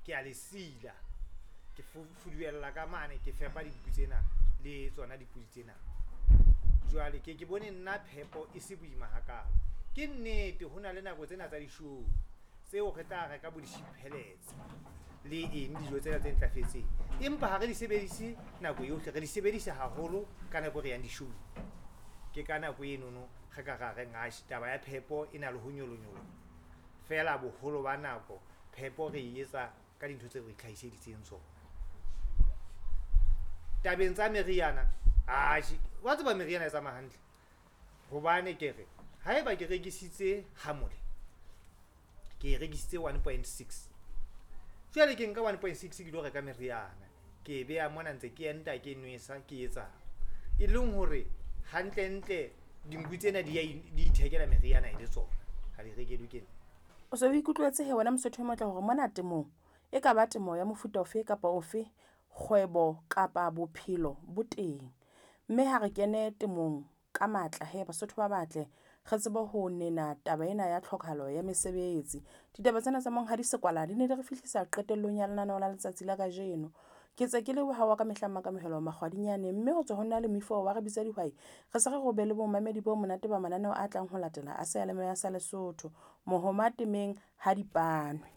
Ke a le sila, ke fuduella ka mane, ke fepa dinku tsena le tsona dipudi tsena. Jwale ke ke bone nna phepo e se boima hakalo. Ke nnete ho na le nako tsena tsa di-show tseo re tla reka bo di-sheep pellets le eng, dijo tsena tse ntlafetseng, empa ha re di sebedise nako yohle, re di sebedisa haholo ka nako e re yang di-show-ong. Ke ka nako enono re ka ra reng atjhe taba ya phepo e na le ho nyolonyoloha, feela boholo ba nako phepo re e etsa ka dintho tseo re itlhahiseditseng tsona. Tabeng tsa meriana, atjhe wa tseba meriana e tsamaya hantle, hobane ke re haeba ke rekisitse hamole, ke e rekisitse 1.6, jwale ke nka 1.6 ke lo reka meriana, ke e beha mona ntse ke enta, ke nwesa, ke etsang, e leng hore hantlentle dinku tsena di ithekela meriana e le tsona, ha di rekelwe ke nna. O se o ikutlwetse he wena Mosotho e motle hore mona temong e ka ba temo ya mofuta ofe kapa ofe, kgwebo kapa bophelo bo teng. Mme ha re kene temong ka matla he Basotho ba batle, re tsebe ho nena taba ena ya tlhokahalo ya mesebetsi. Ditaba tsena tsa Monghadi Sekwala di ne di re fihlisa qetellong ya lenaneo la letsatsi la kajeno. Ke tse ke leboha wa ka mehla Makamohelo Makgwadinyane, mme ho tswa ho nna le moifo wa re bitsa dihwai, re se re re o be le bomamedi bo monate ba mananeo a tlang ho latela a seyalemoya sa Lesotho. Mohoma temeng ha di panwe.